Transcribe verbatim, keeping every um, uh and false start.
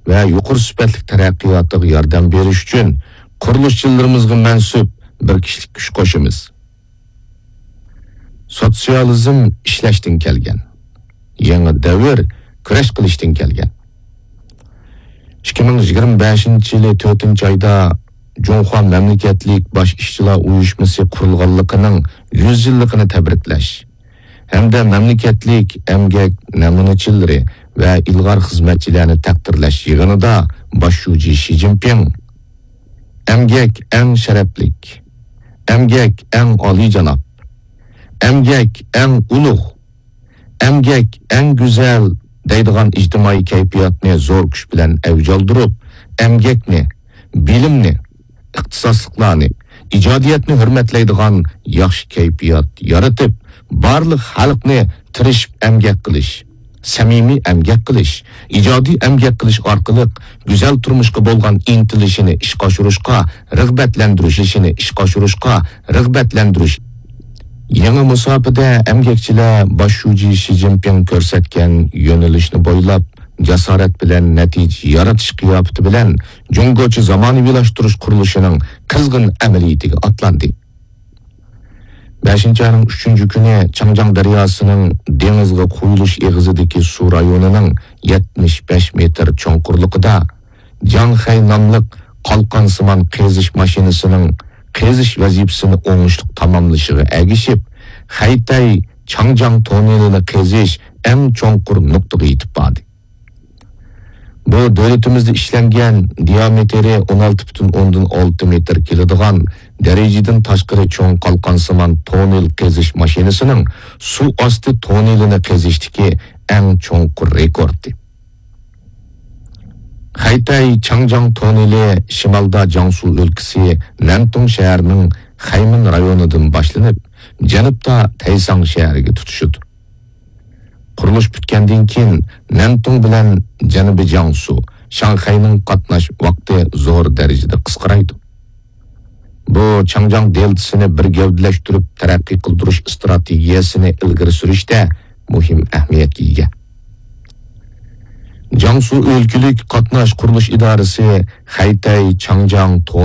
ۋە يۇقىرى سۈپەتلىك تەرەققىياتىغا ياردەم بېرىش ئۈچۈن قۇرۇلۇشچىلىرىمىزغا مەنسۇپ بىر كىشىلىك كۈچ قوشىمىز. سوتسىيالىزم ئىشلەشتىن كەلگەن. يېڭى دەۋر كۈرەش قىلىشتىن كەلگەن. ئىككى مىڭ يىگىرمە بەشىنچى يىلى تۆتىنچى ئايدا جۇڭخۇا مەملىكەتلىك باش ئىشچىلار ئۇيۇشمىسى قۇرۇلغانلىقىنىڭ يۈز يىللىقىنى تەبرىكلەش ھەمدە مەملىكەتلىك ئەمگەك نەمۇنىچىلىرى ۋە ئىلغار خىزمەتچىلەرنى تەقدىرلەش يىغىنىدا باش شۇجى شى جىنپىڭ، «ئەمگەك ئەڭ شەرەپلىك، ئەمگەك ئەڭ ئالىيجاناب، ئەمگەك ئەڭ ئۇلۇغ، ئەمگەك ئەڭ گۈزەل» دەيدىغان ئىجتىمائىي كەيپىياتنى زور كۈچ بىلەن ئەۋج ئالدۇرۇپ، ئەمگەكنى، بىلىمنى، ئىختىساسلىقلارنى، ئىجادىيەتنى ھۆرمەتلەيدىغان ياخشى كەيپىيات يارىتىپ، بارلىق خەلقنى تىرىشىپ ئەمگەك قىلىش، سەمىمىي ئەمگەك قىلىش، ئىجادىي ئەمگەك قىلىش ئارقىلىق گۈزەل تۇرمۇشقا بولغان ئىنتىلىشىنى ئىشقا ئاشۇرۇشقا رىغبەتلەندۈرۈش، ئىشىنى ئىشقا ئاشۇرۇشقا رىغبەتلەندۈرۈش. يېڭى مۇساپىدە ئەمگەكچىلەر باش شۇجى شى جىنپىڭ كۆرسەتكەن يۆنىلىشنى بويلاپ، جاسارەت بىلەن نەتىجە يارىتىش قىياپىتى بىلەن جۇڭگوچە زامانىۋىلاشتۇرۇش قۇرۇلۇشىنىڭ قىزغىن ئەمەلىيىتىگە ئاتلاندى. بەشىنچى ئاينىڭ ئۈچىنچى كۈنى چاڭجياڭ دەرياسىنىڭ دېڭىزغا قۇيۇلۇش ئېغىزىدىكى سۇ رايونىنىڭ يەتمىش بەش مېتىر چوڭقۇرلۇقىدا جاڭخەي ناملىق قالقانسىمان قېزىش ماشىنىسىنىڭ قېزىش ۋەزىپىسىنى ئوڭۇشلۇق تاماملىشىغا ئەگىشىپ، خەيتەي چاڭجياڭ توننېلىنى قېزىش ئەڭ چوڭقۇر نۇقتىغا يېتىپ باردى. بۇ دۆلىتىمىزدە ئىشلەنگەن، دىيامېتىرى ئون ئالتە پۈتۈن ئوندىن ئالتە مېتىر كېلىدىغان دەرىجىدىن تاشقىرى چوڭ قالقانسىمان توننېل قېزىش ماشىنىسىنىڭ سۇ ئاستى توننېلىنى قېزىشتىكى ئەڭ چوڭقۇر رېكورتى. خەيتەي چاڭجياڭ توننېلى شىمالدا جياڭسۇ ئۆلكىسى نەنتۇڭ شەھىرىنىڭ خەيمىن رايونىدىن باشلىنىپ، جەنۇبتا تەيساڭ شەھىرىگە تۇتىشىدۇ. قۇرۇلۇش پۈتكەندىن كېيىن، نەنتۇڭ بىلەن جەنۇبىي جياڭسۇ، شاڭخەينىڭ قاتناش ۋاقتى زور دەرىجىدە قىسقىرايدۇ. بۇ چاڭجياڭ دېلتىسىنى بىر گەۋدىلەشتۈرۈپ تەرەققىي قىلدۇرۇش ئىستراتېگىيەسىنى ئىلگىرى سۈرۈشتە مۇھىم ئەھمىيەتكە ئىگە. جياڭسۇ ئۆلكىلىك قاتناش قۇرۇلۇش ئىدارىسى خەيتەي چاڭجياڭ توننېلى